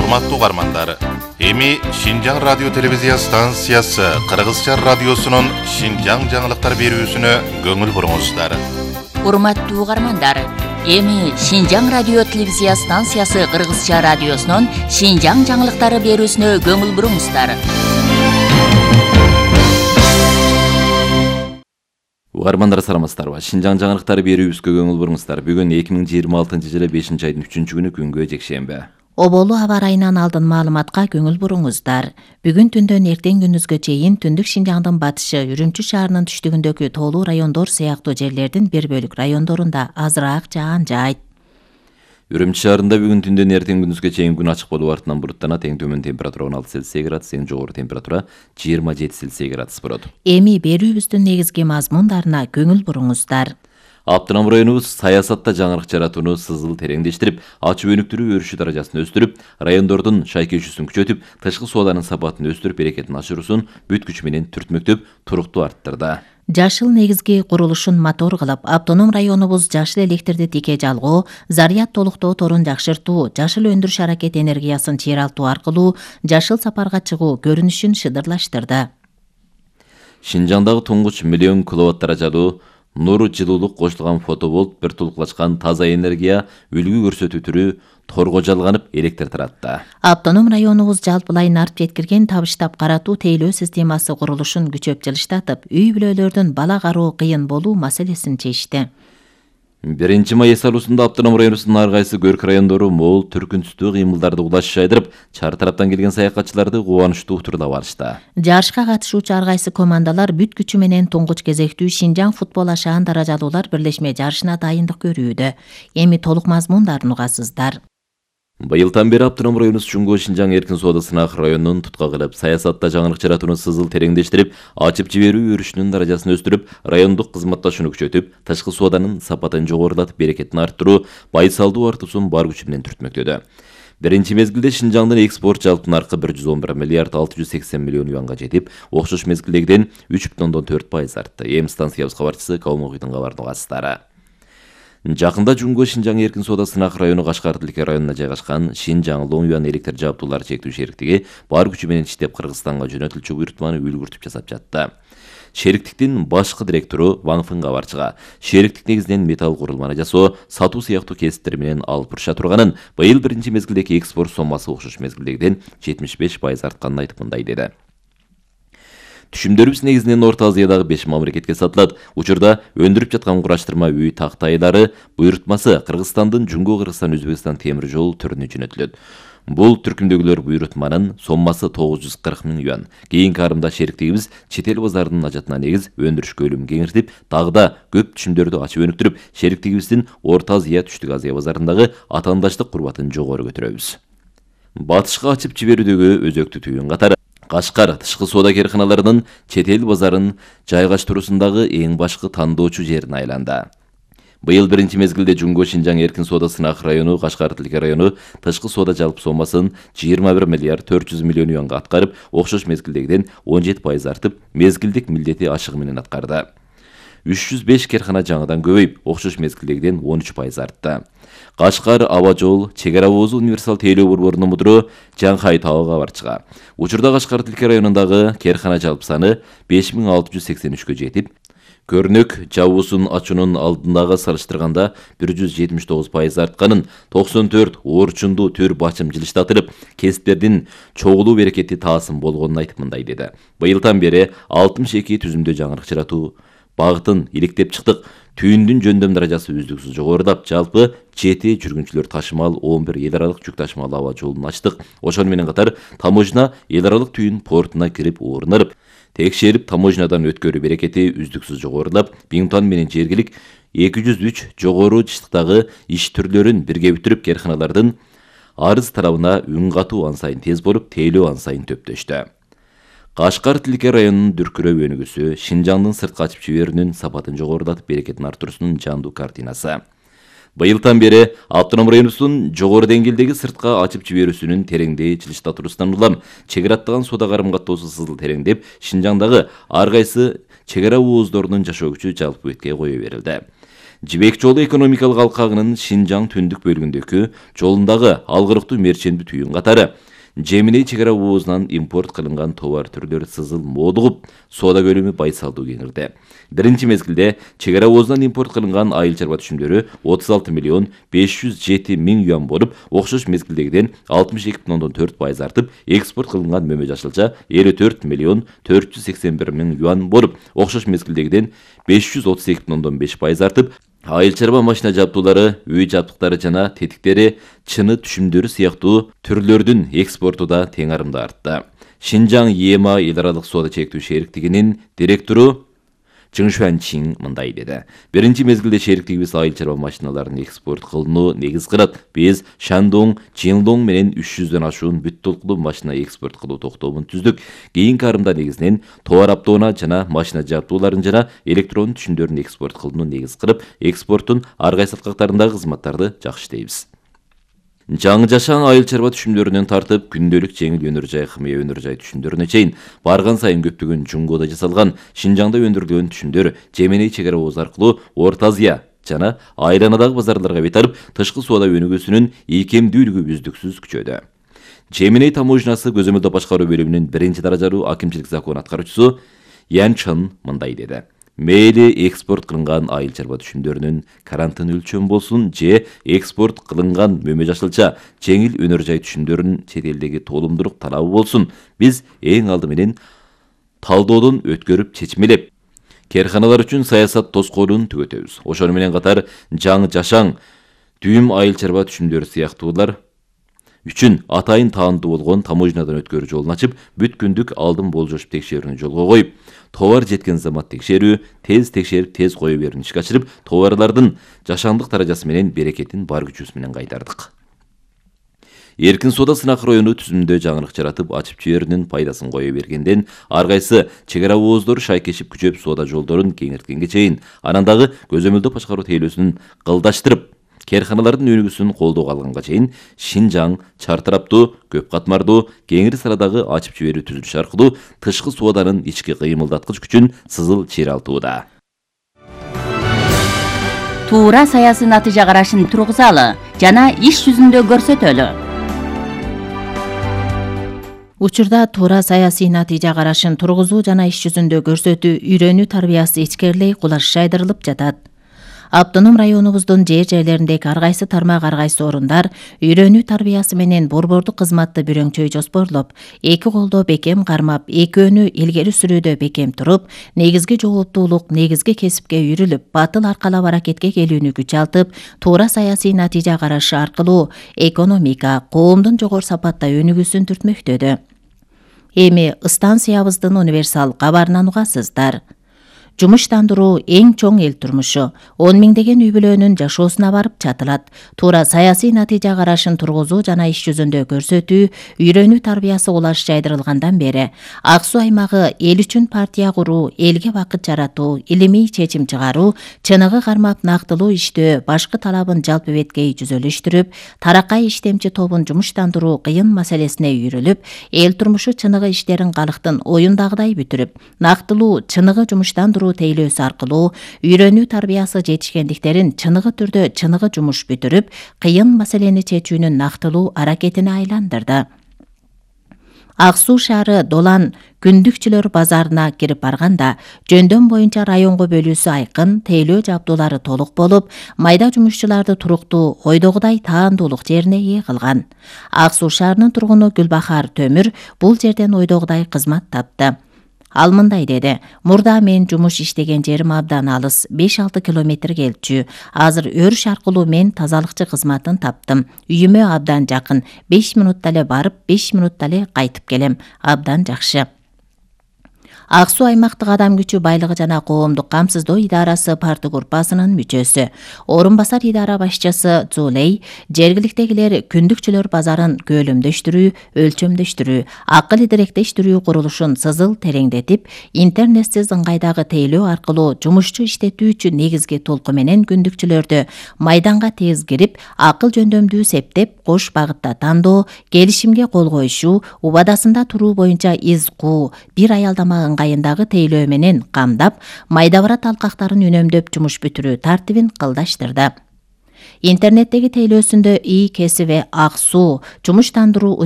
Урматтуу угармандар, эми Шинжаң радио телевизия станциясы Кыргызча радиосунун Шинжаң жаңылыктар берүүсүнө көңүл буруңуздар. Урматтуу угармандар, эми Шинжаң радио телевизия станциясы Кыргызча радиосунун Шинжаң жаңылыктары берүүсүнө көңүл буруңуздар. Угармандар саламатсыздарбы? Шинжаң жаңылыктары берүүбүзгө көңүл буруңуздар. Бүгүн 2026-жылы 5-айдын 3-күнү күнгө жекшемби. Оболу аба ырайынан алдын маалыматка көңүл буруңуздар. Бүгүн түндөн эртең күндүзгө чейин Түндүк Шинжаңдын батышы, Үрүмчү шаарынын түштүгүндөгү тоолуу райондор сыяктуу жерлердин бир бөлүк райондорунда азыраак жаан жаайт. Үрүмчү шаарында бүгүн түндөн эртең күндүзгө чейин күн ачык болуп артынан буруттанат. Эң төмөн температура 16 Цельсий градус, эң жогору температура 27 Цельсий градус болот. Эми берүүбүздүн негизги мазмундарына көңүл буруңуздар. Автоном районубуз саясатта жаңырык жаратууну сызыл тереңдештирип, ачып өнүктүрүү өрүшү даражасын өстүрүп, райондордун шайкешүүсүн күчөтүп, тышкы сооданын сапатын өстүрүп, берекетин ашыруусун бүт күчү менен түртмөктөп, туруктуу арттырды. Жашыл негизги курулушун мотор кылып, автоном районубуз жашыл электрди тике жалгоо, заряд толуктоо торун жакшыртуу, жашыл өндүрүш аракет энергиясын чыйралтуу аркылуу жашыл сапарга чыгуу көрүнүшүн шыдырлаштырды. Шинжаңдагы туңгуч миллион киловатт даражалуу нур жылуулук кошулган фотоболт бир тулуклашкан таза энергия үлгү көрсөтүү түрү торго жалганып электр таратты. Автоном районубуз жалпылай нарт жеткирген табыштап каратуу тейлөө системасы курулушун күчөп жылыштатып, үй бүлөлөрдүн бала кароо кыйын болуу маселесин чечти. 1-май эсалуусунда автоном районубуздун ар кайсы көрк райондору мол түркүнсүздүү кыймылдарды улаш жайдырып, чар тараптан келген саякатчыларды кубанычтуу утурлап алышты. Жарышка катышуучу ар кайсы командалар бүт күчү менен туңгуч кезектүү Шинжаң футбол ашаан даражалуулар бирлешме жарышына дайындык көрүүдө. Эми толук мазмундарын угасыздар. Быйылдан бери автоном районубуз Чуңгу Шинжаң эркин соода сынак районунун тутка кылып, саясатта жаңырык жаратууну сызыл тереңдештирип, ачып жиберүү өрүшүнүн даражасын өстүрүп, райондук кызматташууну күчөтүп, тышкы сооданын сапатын жогорулатып, берекетин арттыруу, байсалдуу артуусун бар күчү менен түртмөктөдө. Биринчи мезгилде Шинжаңдын экспорт жалпы наркы 111 миллиард 680 миллион юанга жетип, окшош мезгилдегиден 3,4% артты. Эми станциябыз кабарчысы Калмогуйдун кабарын угасыздар. Жакында Жуңгу Шинжаң эркин соода сынак району Кашкар тилке районуна жайгашкан Шинжаң Лоңюан электр жабдуулар чектүү шериктиги бар күчү менен иштеп Кыргызстанга жөнөтүлчү буйрутманы үлгүртүп жасап жатты. Шериктиктин башкы директору Ван Фын кабарчыга шериктик негизинен металл курулманы жасоо, сатуу сыяктуу кесиптер менен алып буруша турганын, быйыл биринчи мезгилдеги экспорт соммасы окшош мезгилдегиден 75% артканын айтып мындай деди. Түшүмдөрүбүз негизинен Орто Азиядагы 5 мамлекетке сатылат. Учурда өндүрүп жаткан кураштырма үй тактайлары буйрутмасы Кыргызстандын Жуңгу Кыргызстан Өзбекстан темир жол түрүнө жөнөтүлөт. Бул түркүмдөгүлөр буйрутманын соммасы 940 миң юан. Кийинки арымда шериктигибиз чет эл базарынын ажатына негиз өндүрүш көлүмүн кеңиртип, дагы да көп түшүмдөрдү ачып өнүктүрүп, шериктигибиздин Орто Азия, Түштүк Азия базарындагы атаандаштык курбатын жогору көтөрөбүз. Батышка ачып жиберүүдөгү өзөктүү түйүн катары Кашкар тышкы соода керканаларынын чет эл базарын жайгаштыруусундагы эң башкы тандоочу жерине айланды. Быйыл биринчи мезгилде Жуңгу Шинжаң эркин соода сынак району Кашкар тилке району тышкы соода жалпы соммасын 21 миллиард 400 миллион юанга аткарып, окшош мезгилдегиден 17% артып, мезгилдик милдети ашыгы менен аткарды. 305 керкана жаңыдан көбөйүп, окшош мезгилдегиден 13% артты. Кашкар аба жол чек ара оозу универсал тейлөө борборунун мудуру Жаңхай Тао кабарчыга учурда Кашкар тилке районундагы керкана жалпы саны 5683кө жетип, көрнөк жабуусун ачуунун алдындагы салыштырганда 179% артканын, 94 оорчунду түр бачым жылыштатылып, кесиптердин чогулуу берекети таасым болгонун айтып мындай деди. Быйылдан бери 62 түзүмдө жаңырык жаратуу багытын иликтеп чыктык. Түйүндүн жөндөм даражасы үздүксүз жогорулап, жалпы 7 жүргүнчүлөр ташымал 11 эл аралык жүк ташымал аба жолун ачтык. Ошону менен катар таможня эл аралык түйүн портуна кирип орунуп, текшерип таможнядан өткөрүү берекети үздүксүз жогорулап, Биңтон менен жергилик 203 жогору жыштыктагы иш түрлөрүн бирге бүтүрүп, керканалардын арыз тарабына үн катуу ансайын тез болуп, тейлөө ансайын төптөштү. Кашкар тилке районунун дүркүрөп өнүгүүсү Шинжаңдын сыртка ачып жиберүүнүн сапатын жогорулатып, берекетин арттыруусунун жандуу картинасы. Быйылдан бери автоном районубуздун жогору деңгээлдеги сыртка ачып жиберүүсүнүн тереңдей жылыштатуусунан улам чек араттаган соода карым каттоосу сызыл тереңдеп, Шинжаңдагы ар кайсы чек ара ооздорунун жашоо күчү жалпы бетке кое берилди. Жибек жолу экономикалык алкагынын Шинжаң түндүк бөлүгүндөгү жолундагы алгырыктуу мерчендүү түйүн катары Жеминей чек ара оозунан импорт кылынган товар түрлөрү сызыл моодугуп, соода көлөмү байсалдуу кеңирди. Биринчи мезгилде чек ара оозунан импорт кылынган айыл чарба түшүмдөрү 36 миллион 507 миң юан болуп, окшош мезгилдегиден 62,4% артып, экспорт кылынган мөмө жашылча 54 миллион 481 миң юан болуп, окшош мезгилдегиден 532,5% артып, айыл чарба машина жабдуулары, үй жабдыктары жана тетиктери, чыны түшүмдөрү сыяктуу түрлөрдүн экспорту да тең арымда артты. Шинжаң ЕМА эл аралык соода чектүү шериктигинин директору Чың Шуанчин мындай деди. Биринчи мезгилде шериктигибиз айыл чарба машиналарын экспорт кылууну негиз кылат. Биз Шандong, Жиңдоң менен 300дөн ашуун бүт толкулуу машина экспорт кылуу токтомун түздүк. Кийинки арымда негизинен товар аптоона жана машина жабдууларын жана электронун түшүмдөрүн экспорт кылууну негиз кылып, экспорттун ар кайсы саткактарындагы кызматтарды жакшы иштейбиз. Жаңы жашаң айыл чарба түшүмдөрүнөн тартып, күндөлүк жеңил өнөр жай, хымыя өнөр жай түшүмдөрүнө чейин барган сайын көптөгөн Жунгоодо жасалган Шинжаңда өндүрүлгөн түшүмдөр Жеминей чек ара ооз аркылуу Орто Азия жана айланадагы базарларга бет алып, тышкы соода өнүгүүсүнүн ийкемдүүлүгү үздүксүз күчөдү. Жеминей таможнясы көзөмөлдөө башкаруу бөлүмүнүн 1-даражалуу акимчилик закон аткаруучусу Ян Чын мындай деди. Мейли экспорт кылынган айыл чарба түшүмдөрүнүн карантин өлчөмү болсун же экспорт кылынган мөмө жашылча жеңил өнөр жай түшүмдөрүнүн чет элдеги толумдуулук талабы болсун, биз эң алды менен талдоодон өткөрүп чечмелеп, кээрканалар үчүн саясат тоскоолун түгөтөбүз. Ошону менен катар жаңы жашаң дүйүм айыл чарба түшүмдөрү сыяктуулар үчүн атайын таандуу болгон таможнядан өткөрүү жолун ачып, бүт күндүк алдын болжошуп текшерүүнү жолго коюп, товар жеткен замат текшерүү, тез текшерип, тез кое берүүнү ишке ашырып, товарлардын жашаңдык даражасы менен берекетин бар күчүбүз менен кайтардык. Эркин соода Сынак району түзүмдө жаңылык жаратып, ачып жиберүүнүн пайдасын кое бергенден, ар кайсы чек ара ооздору шайкешип күчөп соода жолдорун кеңирткенге чейин, анан дагы көзөмөлдөө башкаруу тейлөөсүн кылдаштырып, кээрканалардын өнүгүүсүн колдоого алганга чейин Шинжаң чар тараптуу, көп катмардуу, кеңири сарадагы ачып жиберүү түзүлүшү аркылуу тышкы сооданын ички кыймылдаткыч күчүн сызыл чыйралтууда. Туура саясий натыйжа карашын тургузалы жана иш жүзүндө көрсөтөлү. Учурда туура саясий натыйжа карашын тургузуу жана иш жүзүндө көрсөтүү үйрөнүү тарбиясы ичкерилей кулаш жайдырылып жатат. Автоном районубуздун жер-жерлериндеги ар кайсы тармак, ар кайсы орундар үйрөнүү тарбиясы менен борбордук кызматты бүрөңчөй жоспорлоп, эки колдо бекем кармап, экөөнү илгери сүрүүдө бекем туруп, негизги жооптуулук, негизги кесипке үйрүлүп, батыл аркалап аракетке келүүнү күч алтып, туура саясий натыйжа карашы аркылуу экономика, коомдун жогору сапатта өнүгүүсүн түртмөктөдү. Эми станциябыздын универсал кабарынан угасыздар. Жумуштандыруу эң чоң эл турмушу. 10 миңдеген үй бүлөнүн жашоосуна барып чатылат. Туура саясий натыйжа карашын тургузуу жана иш жүзүндө көрсөтүү, үйрөнүү тарбиясы улаш жайдырылгандан бери Ак Суу аймагы эл үчүн партия куруу, элге бакыт жаратуу, илимий чечим чыгаруу, чыныгы кармап нактылуу иштөө, башкы талабын жалпы беткей жүзөлүштүрүп, таракай иштемчи тобун жумуштандыруу кыйын маселесине үйрүлүп, эл турмушу чыныгы иштерин калктын оюндагыдай бүтүрүп, нактылуу чыныгы жумуштандыруу тейлөөсү аркылуу үйрөнүү тарбиясы жетишкендиктерин чыныгы түрдө чыныгы жумуш бүтүрүп, кыйын маселени чечүүнүн нактылуу аракетине айландырды. Ак Суу шаары Долан күндүкчүлөр базарына кирип барганда, жөндөм боюнча районго бөлүүсү айкын, тейлөө жабдуулары толук болуп, майда жумушчуларды туруктуу, ойдогудай таандуулук жерине ээ кылган. Ак Суу шаарынын тургуну Гүлбахар Төмүр бул жерден ойдогудай кызмат тапты. Ал мындай деди: мурда мен жумуш иштеген жерим абдан алыс, 5-6 километр келчү. Азыр өрүш аркылуу мен тазалыкчы кызматын таптым. Үйүмө абдан жакын. 5 минутта эле барып, 5 минутта эле кайтып келем. Абдан жакшы. Ак Суу аймактык адам күчү байлыгы жана коомдук камсыздоо идарасы парты группасынын мүчөсү. Орун басар идара башчысы Зулей жергиликтегилер күндүкчүлөр базарын көлөмдөштүрүү, өлчөмдөштүрүү, акыл идиректештирүү курулушун сызыл тереңдетип, интернетсиз ыңгайдагы тейлөө аркылуу жумушчу иштетүү үчүн негизги толку менен күндүкчүлөрдү майданга тез кирип, акыл жөндөмдүү септеп, кош багытта тандоо, келишимге кол коюшуу, убадасында туруу боюнча из куу, бир аялдама ыңгайындагы тейлөө менен камдап, майдабарат алкактарын үнөмдөп жумуш бүтүрүү тартибин кылдаштырды. Интернеттеги тейлөөсүндө ИИ кесиби ак суу, жумуштандыруу